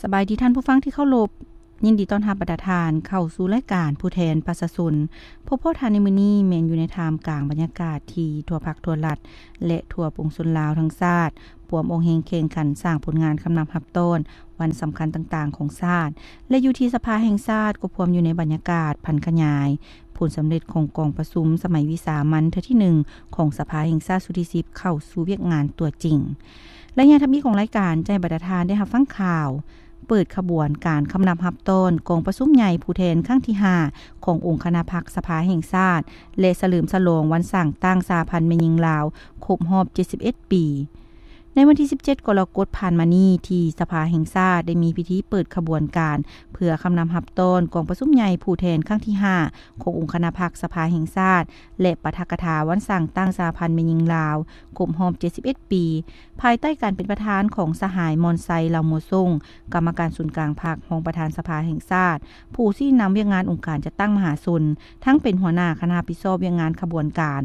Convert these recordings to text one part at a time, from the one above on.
ສະບາຍດີທ່ານຜູ້ຟັງທີ່ເຄົາລົບ, ຍິນດີຕ້ອນຮັບບັນດາທ່ານເຂົ້າສູ່ລາຍການຜູ້ແທນປະຊາຊົນ. ພົບພໍ້ທ່ານໃນມື້ນີ້ແມ່ນຢູ່ໃນທ່າມກາງບັນຍາກາດທີ່ທົ່ວພັກທົ່ວລັດ ແລະ ທົ່ວປວງຊົນລາວທັງຊາດ ພວມອອກແຮງແຂ່ງຂັນສ້າງຜົນງານຄຳນັບຮັບຕ້ອນວັນສຳຄັນຕ່າງໆຂອງຊາດ ແລະ ຢູ່ທີ່ສະພາແຫ່ງຊາດກໍພວມຢູ່ໃນບັນຍາກາດຜັນຂະຫຍາຍ ຜົນສຳເລັດຂອງກອງປະຊຸມສະໄໝວິສາມັນເທື່ອທີໜຶ່ງຂອງສະພາແຫ່ງຊາດຊຸດທີສິບເຂົ້າສູ່ວຽກງານຕົວຈິງ. ໄລຍະທຳອິດຂອງລາຍການຈະໃຫ້ບັນດາທ່ານໄດ້ຮັບຟັງຂ່າວ ເປີດຂະບວນການຄຳນັບຮັບຕ້ອນກອງປະຊຸມໃຫຍ່ຜູ້ແທນຄັ້ງທີຫ້າຂອງອົງຄະນະພັກສະພາແຫ່ງຊາດ ແລະ ສະເຫຼີມສະຫຼອງວັນສ້າງຕັ້ງສະຫະພັນແມ່ຍິງລາວຄົບຮອບເຈັດສິບເອັດປີ. ໃນວັນທີສິບເຈັດກໍລະກົດຜ່ານມານີ້ ທີ່ສະພາແຫ່ງຊາດໄດ້ມີພິທີເປີດຂະບວນການ ເພື່ອຄຳນັບຮັບຕ້ອນກອງປະຊຸມໃຫຍ່ຜູ້ແທນຄັ້ງທີຫ້າຂອງອົງຄະນະພັກສະພາແຫ່ງຊາດ ແລະ ປາຖະກະຖາວັນສ້າງຕັ້ງສະຫະພັນແມ່ຍິງລາວຄົບຮອບເຈັດສິບເອັດປີ ພາຍໃຕ້ການເປັນປະທານຂອງສະຫາຍ ມອນໄຊ ເຫຼົ່າມົວຊົງ ກຳມະການສູນກາງພັກ, ຮອງປະທານສະພາແຫ່ງຊາດ, ຜູ້ຊີ້ນຳວຽກງານອົງການຈັດຕັ້ງມະຫາຊົນ, ທັງເປັນຫົວໜ້າຄະນະຮັບຜິດຊອບວຽກງານຂະບວນການ,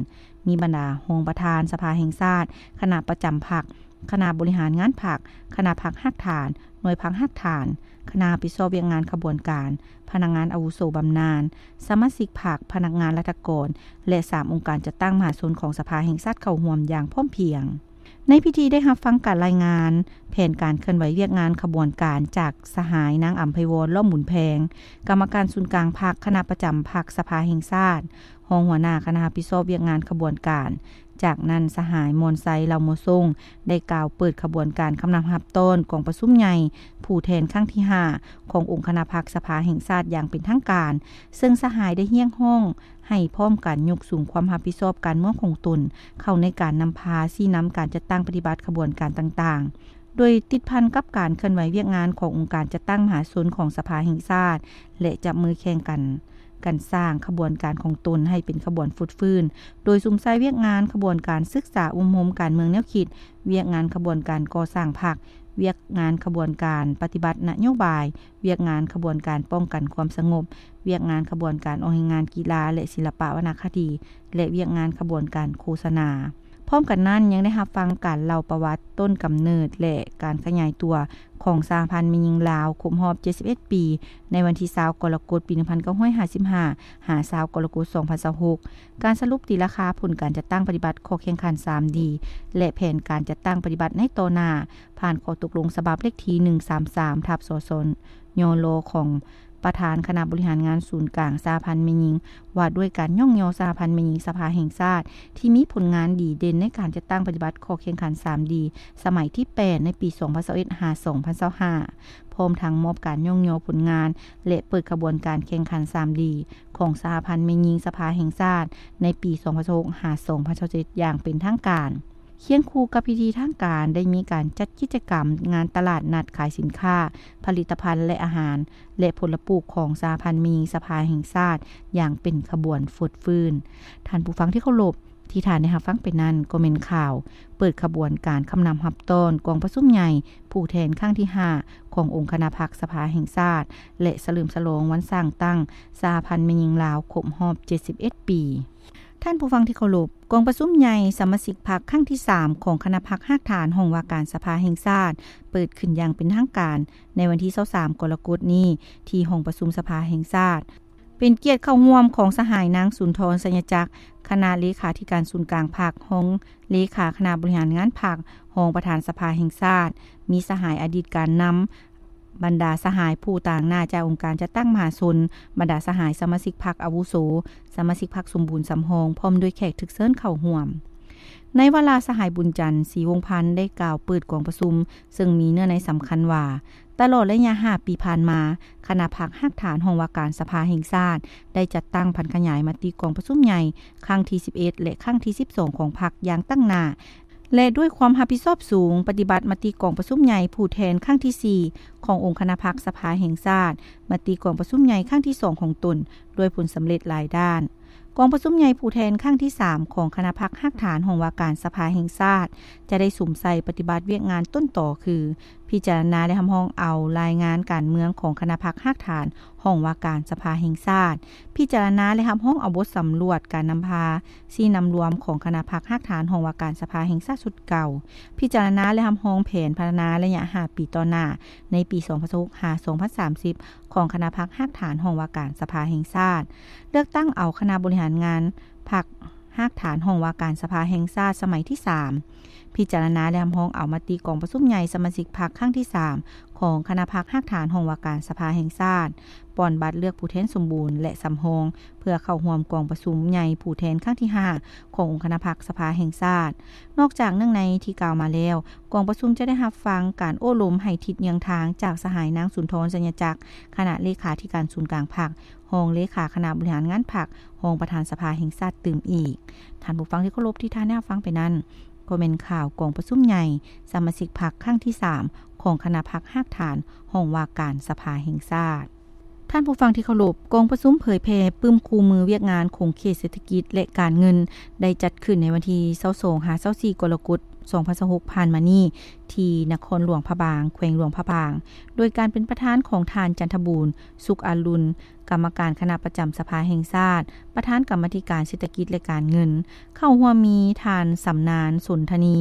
ມີບັນດາຮອງປະທານສະພາແຫ່ງຊາດ, ຄະນະປະຈຳພັກ, ຄະນະບໍລິຫານງານພັກ, ຄະນະພັກຮາກຖານ, ໜ່ວຍພັກຮາກຖານ, ຄະນະຮັບຜິດຊອບວຽກງານຂະບວນການ, ພະນັກງານອາວຸໂສບຳນານ, ສະມາຊິກພັກ, ພະນັກງານລັດຖະກອນ ແລະ ສາມອົງການຈັດຕັ້ງມະຫາຊົນຂອງສະພາແຫ່ງຊາດເຂົ້າຮ່ວມຢ່າງພ້ອມພຽງ. ໃນພິທີໄດ້ຮັບຟັງການລາຍງານແຜນການເຄື່ອນໄຫວວຽກງານຂະບວນການຈາກສະຫາຍ ນາງ ອຳໄພວອນ ລ້ອມບຸນແພງ ກຳມະການສູນກາງພັກ, ຄະນະປະຈຳພັກສະພາແຫ່ງຊາດ, ຮອງຫົວໜ້າຄະນະຮັບຜິດຊອບວຽກງານຂະບວນການ. ຈາກນັ້ນ ສະຫາຍ ມອນໄຊ ເຫຼົ່າມົວຊົງ ໄດ້ກ່າວເປີດຂະບວນການຄຳນັບຮັບຕ້ອນກອງປະຊຸມໃຫຍ່ຜູ້ແທນຄັ້ງທີຫ້າຂອງອົງຄະນະພັກສະພາແຫ່ງຊາດຢ່າງເປັນທາງການ, ເຊິ່ງສະຫາຍໄດ້ຮຽກຮ້ອງ ໃຫ້ພ້ອມກັນຍົກສູງຄວາມຮັບຜິດຊອບການເມືອງຂອງຕົນ ເຂົ້າໃນການນຳພາຊີ້ນຳການຈັດຕັ້ງປະຕິບັດຂະບວນການຕ່າງໆ ໂດຍຕິດພັນກັບການເຄື່ອນໄຫວວຽກງານຂອງອົງການຈັດຕັ້ງມະຫາຊົນຂອງສະພາແຫ່ງຊາດ ແລະ ຈັບມືແຂ່ງກັນ ການສ້າງຂະບວນການຂອງຕົນໃຫ້ເປັນຂະບວນຟົດຟື້ນ, ໂດຍສຸມໃສ່ວຽກງານຂະບວນການສຶກສາອົບຮົມການເມືອງແນວຄິດ, ວຽກງານຂະບວນການກໍ່ສ້າງພັກ, ວຽກງານຂະບວນການປະຕິບັດນະໂຍບາຍ, ວຽກງານຂະບວນການປ້ອງກັນຄວາມສະຫງົບ, ວຽກງານຂະບວນການອອກແຮງງານກິລາ ແລະ ສິລະປະວັນນະຄະດີ ແລະ ວຽກງານຂະບວນການໂຄສະນາ. ພ້ອມກັນນັ້ນ ຍັງໄດ້ຮັບຟັງການເລົ່າປະຫວັດຕົ້ນກຳເນີດ ແລະ ການຂະຫຍາຍຕົວຂອງສະຫະພັນແມ່ຍິງລາວຄົບຮອບເຈັດສິບເອັດປີ ໃນວັນທີຊາວກໍລະກົດປີໜຶ່ງພັນເກົ້າຮ້ອຍຫ້າສິບຫ້າ ຫາຊາວກໍລະກົດສອງພັນຊາວຫົກ, ການສະຫຼຸບຕີລາຄາຜົນການຈັດຕັ້ງປະຕິບັດຂໍ້ແຂ່ງຂັນສາມດີ ແລະ ແຜນການຈັດຕັ້ງປະຕິບັດໃນຕໍ່ໜ້າ ຜ່ານຂໍ້ຕົກລົງສະບັບເລກທີໜຶ່ງສາມສາມ ທັບ ສສ ຍລ ຂອງປະທານຄະນະບໍລິຫານງານສູນກາງສະຫະພັນແມ່ຍິງ ວ່າດ້ວຍການຍ້ອງຍໍສະຫະພັນແມ່ຍິງສະພາແຫ່ງຊາດ ທີ່ມີຜົນງານດີເດັ່ນໃນການຈັດຕັ້ງປະຕິບັດຂໍ້ແຂ່ງຂັນສາມດີ ສະໄໝທີແປດ ໃນປີສອງພັນຊາວເອັດ ຫາ ສອງພັນຊາວຫ້າ ພ້ອມທັງມອບການຍ້ອງຍໍຜົນງານ ແລະ ເປີດຂະບວນການແຂ່ງຂັນສາມດີ ຂອງສະຫະພັນແມ່ຍິງສະພາແຫ່ງຊາດ ໃນປີສອງພັນຊາວຫົກ ຫາ ສອງພັນຊາວເຈັດ ຢ່າງເປັນທາງການ. ຄຽງຄູ່ກັບພິທີທາງການ ໄດ້ມີການຈັດກິດຈະກຳງານຕະຫຼາດນັດຂາຍສິນຄ້າ, ຜະລິດຕະພັນ ແລະ ອາຫານ ແລະ ຜົນລະປູກຂອງສະຫະພັນແມ່ຍິງສະພາແຫ່ງຊາດ ຢ່າງເປັນຂະບວນຟົດຟື້ນ. ທ່ານຜູ້ຟັງທີ່ເຄົາລົບ, ທີ່ທ່ານໄດ້ຮັບຟັງໄປນັ້ນ ກໍແມ່ນຂ່າວເປີດຂະບວນການຄຳນັບຮັບຕ້ອນກອງປະຊຸມໃຫຍ່ຜູ້ແທນຄັ້ງທີຫ້າຂອງອົງຄະນະພັກສະພາແຫ່ງຊາດ ແລະ ສະເຫຼີມສະຫຼອງວັນສ້າງຕັ້ງສະຫະພັນແມ່ຍິງລາວຄົບຮອບເຈັດສິບເອັດປີ. ທ່ານຜູ້ຟັງທີ່ເຄົາລົບ, ກອງປະຊຸມໃຫຍ່ສະມາຊິກພັກຄັ້ງທີສາມຂອງຄະນະພັກຮາກຖານຫ້ອງວ່າການສະພາແຫ່ງຊາດ ເປີດຂຶ້ນຢ່າງເປັນທາງການໃນວັນທີຊາວສາມກໍລະກົດນີ້ ທີ່ຫ້ອງປະຊຸມສະພາແຫ່ງຊາດ. ເປັນກຽດເຂົ້າຮ່ວມຂອງສະຫາຍນາງ ສຸນທອນ ໄຊຍະຈັກ ຄະນະເລຂາທິການສູນກາງພັກ, ຮອງເລຂາຄະນະບໍລິຫານງານພັກ, ຮອງປະທານສະພາແຫ່ງຊາດ, ມີສະຫາຍອະດີດການນຳ, ບັນດາສະຫາຍຜູ້ຕາງໜ້າຈາກອົງການຈັດຕັ້ງມະຫາຊົນ, ບັນດາສະຫາຍສະມາຊິກພັກອາວຸໂສ, ສະມາຊິກພັກສົມບູນສຳຮອງ ພ້ອມດ້ວຍແຂກຖືກເຊີນເຂົ້າຮ່ວມ. ໃນວາລະ ສະຫາຍ ບຸນຈັນ ສີວົງພັນ ໄດ້ກ່າວເປີດກອງປະຊຸມ ເຊິ່ງມີເນື້ອໃນສຳຄັນວ່າ ຕະຫຼອດໄລຍະຫ້າປີຜ່ານມາ, ຄະນະພັກຮາກຖານຫ້ອງວ່າການສະພາແຫ່ງຊາດ ໄດ້ຈັດຕັ້ງຜັນຂະຫຍາຍມະຕິກອງປະຊຸມໃຫຍ່ຄັ້ງທີສິບເອັດ ແລະ ຄັ້ງທີສິບສອງຂອງພັກຢ່າງຕັ້ງໜ້າ ແລະ ດ້ວຍຄວາມຮັບຜິດຊອບສູງ ປະຕິບັດມະຕິກອງປະຊຸມໃຫຍ່ຜູ້ແທນຄັ້ງທີສີ່ຂອງອົງຄະນະພັກສະພາແຫ່ງຊາດ, ມະຕິກອງປະຊຸມໃຫຍ່ຄັ້ງທີສອງຂອງຕົນ ດ້ວຍຜົນສຳເລັດຫຼາຍດ້ານ. ກອງປະຊຸມໃຫຍ່ຜູ້ແທນຄັ້ງທີສາມຂອງຄະນະພັກຮາກຖານຫ້ອງວ່າການສະພາແຫ່ງຊາດ ຈະໄດ້ສຸມໃສ່ປະຕິບັດວຽກງານຕົ້ນຕໍ ຄື ພິຈາລະນາ ແລະ ຮັບຮອງເອົາລາຍງານການເມືອງຂອງຄະນະພັກຮາກຖານຫ້ອງວ່າການສະພາແຫ່ງຊາດ, ພິຈາລະນາ ແລະ ຮັບຮອງເອົາບົດສຳຫຼວດການນຳພາຊີ້ນຳລວມຂອງຄະນະພັກຮາກຖານຫ້ອງວ່າການສະພາແຫ່ງຊາດຊຸດເກົ່າ, ພິຈາລະນາ ແລະ ຮັບຮອງແຜນພັດທະນາໄລຍະຫ້າປີຕໍ່ໜ້າ ໃນປີສອງພັນຊາວຫົກ ຫາ ສອງພັນສາມສິບ ຂອງຄະນະພັກຮາກຖານຫ້ອງວ່າການສະພາແຫ່ງຊາດ, ເລືອກຕັ້ງເອົາຄະນະບໍລິຫານງານພັກຮາກຖານຫ້ອງວ່າການສະພາແຫ່ງຊາດສະໄໝທີສາມ, ພິຈາລະນາ ແລະ ຮັບຮອງເອົາມະຕິກອງປະຊຸມໃຫຍ່ສະມາຊິກພັກຄັ້ງທີສາມ ຂອງຄະນະພັກຮາກຖານຫ້ອງວ່າການສະພາແຫ່ງຊາດ, ປ່ອນບັດເລືອກຜູ້ແທນສົມບູນ ແລະ ສຳຮອງ ເພື່ອເຂົ້າຮ່ວມກອງປະຊຸມໃຫຍ່ຜູ້ແທນຄັ້ງທີຫ້າ ຂອງອົງຄະນະພັກສະພາແຫ່ງຊາດ. ນອກຈາກເນື່ອງໃນທີ່ກ່າວມາແລ້ວ, ກອງປະຊຸມຈະໄດ້ຮັບຟັງການໂອ້ລົມໃຫ້ທິດເຍືອງທາງຈາກສະຫາຍນາງ ສຸນທອນ ໄຊຍະຈັກ ຄະນະເລຂາທິການສູນກາງພັກ, ຮອງເລຂາຄະນະບໍລິຫານງານພັກ, ຮອງປະທານສະພາແຫ່ງຊາດຕື່ມອີກ. ທ່ານຜູ້ຟັງທີ່ເຄົາລົບ, ທີ່ທ່ານໄດ້ຮັບຟັງໄປນັ້ນ ກໍແມ່ນຂ່າວກອງປະຊຸມໃຫຍ່ສະມາຊິກພັກຄັ້ງທີສາມ ຂອງຄະນະພັກຮາກຖານຫ້ອງວ່າການສະພາແຫ່ງຊາດ. ທ່ານຜູ້ຟັງທີ່ເຄົາລົບ, ກອງປະຊຸມເຜີຍແຜ່ປຶ້ມຄູ່ມືວຽກງານຂົງເຂດເສດຖະກິດ ແລະ ການເງິນ ໄດ້ຈັດຂຶ້ນໃນວັນທີຊາວສອງ ຫາ ຊາວສີ່ ກໍລະກົດ ສອງພັນຊາວຫົກ ຜ່ານມານີ້ ທີ່ນະຄອນຫຼວງພະບາງ, ແຂວງຫຼວງພະບາງ, ໂດຍການເປັນປະທານຂອງທ່ານ ຈັນທະບູນ ສຸກອາລຸນ, ກຳມະການຄະນະປະຈຳສະພາແຫ່ງຊາດ, ປະທານກຳມາທິການເສດຖະກິດ ແລະ ການເງິນ. ເຂົ້າຮ່ວມມີທ່ານ ສຳນານ ສົນທະນີ,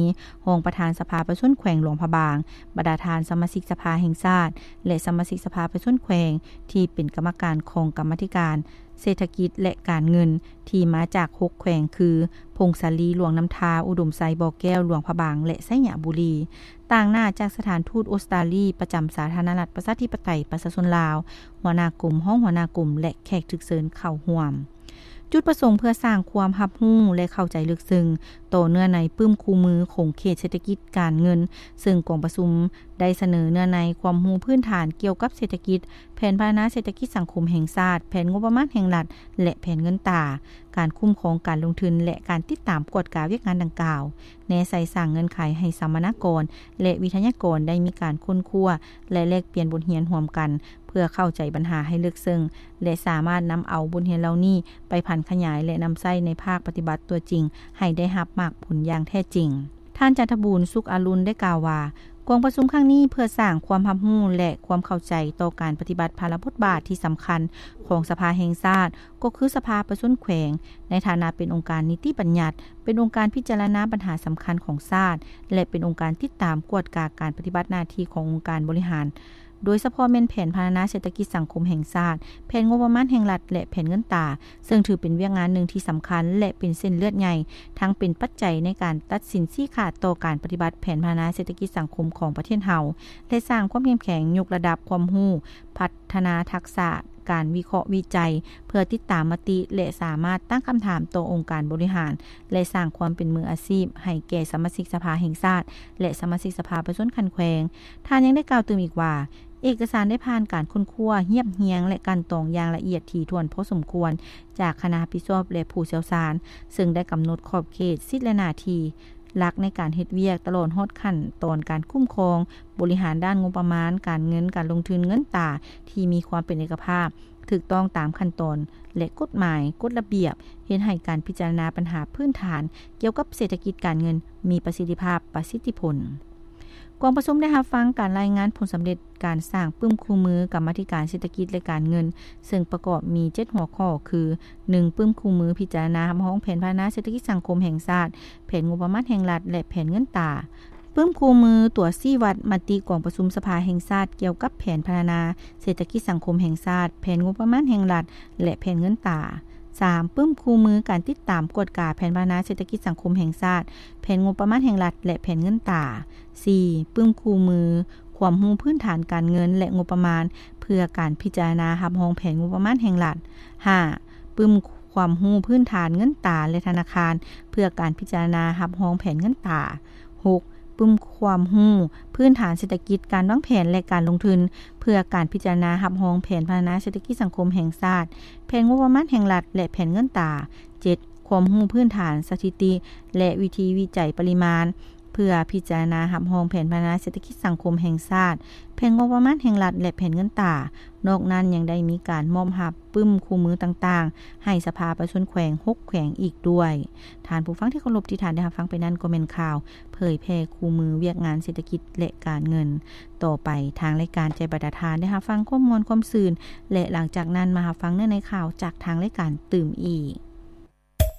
ຮອງປະທານສະພາປະຊາຊົນແຂວງຫຼວງພະບາງ, ບັນດາທ່ານສະມາຊິກສະພາແຫ່ງຊາດ ແລະ ສະມາຊິກສະພາປະຊາຊົນແຂວງ ທີ່ເປັນກຳມະການຂອງກຳມາທິການເສດຖະກິດ ແລະ ການເງິນ ທີ່ມາຈາກຫົກແຂວງ ຄື ຜົ້ງສາລີ, ຫຼວງນ້ຳທາ, ອຸດົມໄຊ, ບໍ່ແກ້ວ, ຫຼວງພະບາງ ແລະ ໄຊຍະບູລີ. ຕາງໜ້າຈາກສະຖານທູດອົດສະຕາລີປະຈຳສາທາລະນະລັດ ປະຊາທິປະໄຕ ປະຊາຊົນລາວ, ຫົວໜ້າກົມ, ຮອງຫົວໜ້າກົມ ແລະ ແຂກຖືກເຊີນເຂົ້າຮ່ວມ. ຈຸດປະສົງເພື່ອສ້າງຄວາມຮັບຮູ້ ແລະ ເຂົ້າໃຈເລິກເຊິ່ງຕໍ່ເນື້ອໃນປຶ້ມຄູ່ມືຂົງເຂດເສດຖະກິດການເງິນ, ເຊິ່ງກອງປະຊຸມໄດ້ສະເໜີເນື້ອໃນຄວາມຮູ້ພື້ນຖານກ່ຽວກັບເສດຖະກິດ, ແຜນພັດທະນາເສດຖະກິດສັງຄົມແຫ່ງຊາດ, ແຜນງົບປະມານແຫ່ງລັດ ແລະ ແຜນເງິນຕາ, ການຄຸ້ມຄອງການລົງທຶນ ແລະ ການຕິດຕາມກວດກາວຽກງານດັ່ງກ່າວ. ແນໃສ່ສ້າງເງື່ອນໄຂໃຫ້ສຳມະນາກອນ ແລະ ວິທະຍາກອນໄດ້ມີການຄົ້ນຄວ້າ ແລະ ແລກປ່ຽນບົດຮຽນຮ່ວມກັນ ເພື່ອເຂົ້າໃຈບັນຫາໃຫ້ເລິກເຊິ່ງ ແລະ ສາມາດນຳເອົາບົດຮຽນເຫຼົ່ານີ້ໄປຜັນຂະຫຍາຍ ແລະ ນຳໃຊ້ໃນພາກປະຕິບັດຕົວຈິງໃຫ້ໄດ້ຮັບໝາກຜົນຢ່າງແທ້ຈິງ. ທ່ານ ຈັນທະບູນ ສຸກອາລຸນ ໄດ້ກ່າວວ່າ, ກອງປະຊຸມຄັ້ງນີ້ເພື່ອສ້າງຄວາມຮັບຮູ້ ແລະ ຄວາມເຂົ້າໃຈຕໍ່ການປະຕິບັດພາລະບົດບາດທີ່ສຳຄັນຂອງສະພາແຫ່ງຊາດ, ກໍຄືສະພາປະຊາຊົນແຂວງ ໃນຖານະເປັນອົງການນິຕິບັນຍັດ, ເປັນອົງການພິຈາລະນາບັນຫາສຳຄັນຂອງຊາດ ແລະ ເປັນອົງການຕິດຕາມກວດກາການປະຕິບັດໜ້າທີ່ຂອງອົງການບໍລິຫານ, ໂດຍສະເພາະແມ່ນແຜນພັດທະນາເສດຖະກິດສັງຄົມແຫ່ງຊາດ, ແຜນງົບປະມານແຫ່ງລັດ ແລະ ແຜນເງິນຕາ, ເຊິ່ງຖືເປັນວຽກງານໜຶ່ງທີ່ສຳຄັນ ແລະ ເປັນເສັ້ນເລືອດໃຫຍ່, ທັງເປັນປັດໄຈໃນການຕັດສິນຊີ້ຂາດຕໍ່ການປະຕິບັດແຜນພັດທະນາເສດຖະກິດສັງຄົມຂອງປະເທດເຮົາ ແລະ ສ້າງຄວາມເຂັ້ມແຂງ, ຍົກລະດັບຄວາມຮູ້, ພັດທະນາທັກສະການວິເຄາະວິໄຈ ເພື່ອຕິດຕາມມະຕິ ແລະ ສາມາດຕັ້ງຄຳຖາມຕໍ່ອົງການບໍລິຫານ ແລະ ສ້າງຄວາມເປັນມືອາຊີບໃຫ້ແກ່ສະມາຊິກສະພາແຫ່ງຊາດ ແລະ ສະມາຊິກສະພາປະຊາຊົນຂັ້ນແຂວງ. ທ່ານຍັງໄດ້ກ່າວຕື່ມອີກວ່າ, ເອກະສານໄດ້ຜ່ານການຄົ້ນຄວ້າ, ຮຽບຮຽງ ແລະ ກັ່ນຕອງຢ່າງລະອຽດຖີ່ຖ້ວນພໍສົມຄວນ ຈາກຄະນະຮັບຜິດຊອບ ແລະ ຜູ້ຊ່ຽວຊານ, ເຊິ່ງໄດ້ກຳນົດຂອບເຂດ, ສິດ ແລະ ໜ້າທີ່ຫຼັກໃນການເຮັດວຽກ, ຕະຫຼອດຮອດຂັ້ນຕອນການຄຸ້ມຄອງ, ບໍລິຫານດ້ານງົບປະມານ, ການເງິນ, ການລົງທຶນ, ເງິນຕາ ທີ່ມີຄວາມເປັນເອກະພາບ, ຖືກຕ້ອງຕາມຂັ້ນຕອນ ແລະ ກົດໝາຍ, ກົດລະບຽບ, ເຮັດໃຫ້ການພິຈາລະນາບັນຫາພື້ນຖານກ່ຽວກັບເສດຖະກິດການເງິນມີປະສິດທິພາບ, ປະສິດທິຜົນ. ກອງປະຊຸມໄດ້ຮັບຟັງການລາຍງານຜົນສຳເລັດການສ້າງປຶ້ມຄູ່ມືກຳມາທິການເສດຖະກິດ ແລະ ການເງິນ, ເຊິ່ງປະກອບມີເຈັດຫົວຂໍ້ ຄື ໜຶ່ງ ປຶ້ມຄູ່ມືພິຈາລະນາຮັບຮອງແຜນພັດທະນາເສດຖະກິດສັງຄົມແຫ່ງຊາດ, ແຜນງົບປະມານແຫ່ງລັດ ແລະ ແຜນເງິນຕາ. ປຶ້ມຄູ່ມືຕົວຊີ້ວັດມະຕິກອງປະຊຸມສະພາແຫ່ງຊາດກ່ຽວກັບແຜນພັດທະນາເສດຖະກິດສັງຄົມແຫ່ງຊາດ, ແຜນງົບປະມານແຫ່ງລັດ ແລະ ແຜນເງິນຕາ. ສາມ ປຶ້ມຄູ່ມືການຕິດຕາມກວດກາແຜນພັດທະນາເສດຖະກິດສັງຄົມແຫ່ງຊາດ, ແຜນງົບປະມານແຫ່ງລັດ ແລະ ແຜນເງິນຕາ. ສີ່ ປຶ້ມຄູ່ມືຄວາມຮູ້ພື້ນຖານການເງິນ ແລະ ງົບປະມານ ເພື່ອການພິຈາລະນາຮັບຮອງແຜນງົບປະມານແຫ່ງລັດ. ຫ້າ ປຶ້ມຄວາມຮູ້ພື້ນຖານເງິນຕາ ແລະ ທະນາຄານ ເພື່ອການພິຈາລະນາຮັບຮອງແຜນເງິນຕາ. ຫົກ ປຶ້ມຄວາມຮູ້ພື້ນຖານເສດຖະກິດ, ການວາງແຜນ ແລະ ການລົງທຶນ ເພື່ອການພິຈາລະນາຮັບຮອງແຜນພັດທະນາເສດຖະກິດສັງຄົມແຫ່ງຊາດ, ແຜນງົບປະມານແຫ່ງລັດ ແລະ ແຜນເງິນຕາ. ເຈັດ ຄວາມຮູ້ພື້ນຖານສະຖິຕິ ແລະ ວິທີວິໄຈປະລິມານ ເພື່ອພິຈາລະນາຮັບຮອງແຜນພັດທະນາເສດຖະກິດສັງຄົມແຫ່ງຊາດ, ແຜນງົບປະມານແຫ່ງລັດ ແລະ ແຜນເງິນຕາ. ນອກນັ້ນຍັງໄດ້ມີການມອບຮັບປຶ້ມຄູ່ມືຕ່າງໆ ໃຫ້ສະພາປະຊາຊົນແຂວງ ຫົກ ແຂວງອີກດ້ວຍ. ທ່ານຜູ້ຟັງທີ່ເຄົາລົບ, ທີ່ທ່ານໄດ້ຮັບຟັງໄປນັ້ນກໍແມ່ນຂ່າວເຜີຍແຜ່ຄູ່ມືວຽກງານເສດຖະກິດ ແລະ ການເງິນ. ຕໍ່ໄປທາງລາຍການໃຈບັດຕາທ່ານໄດ້ຮັບຟັງຄວາມມ່ວນຄວາມຊື່ນ ແລະ ຫຼັງຈາກນັ້ນມາຮັບຟັງເນື້ອໃນຂ່າວຈາກທາງລາຍການຕື່ມອີກ.